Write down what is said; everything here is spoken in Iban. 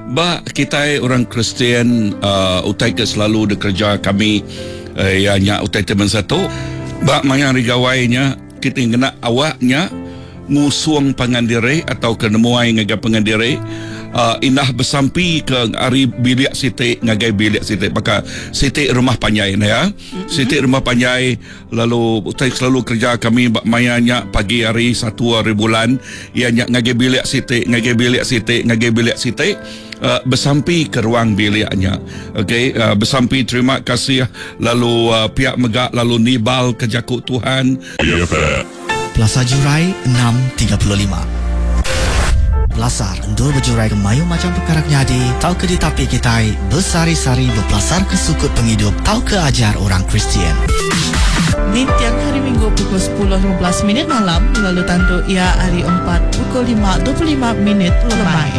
Ba kitai orang Kristian uhh utai ke selalu dikereja kami iya nya utai ti bansa tu ba maya hari gawai nya kitai ngena awak nya ngusung pangan diri atauka nemuai ngagai pangan diri uhh indah besampi ke ari bilik siti ngagai bilik siti baka siti rumah panjai ne ya. Siti rumah panjai lalu utai selalu kereja kami ba maya nya pagi hari satu hari bulan iya nya ngagai bilik siti ngagai bilik siti ngagai bilik siti uhh besampi ke ruang bilik nya. Ok uhh besampi terima kasih lalu uhh pia mega lalu nibal ke jaku Tuhan. Pelasar Jurai 6:35. Pelasar endur bejurai ke mayuh macham pekara ke nyadi tauka ditapi kitai besehari-sehari bepelasarka sukut pengidup tauka ajar orang Kristian. Ninting Hari Minggu pukul 10:15 minit malam lalu tandu iya hari Empat pukul 5:25 minit lemai.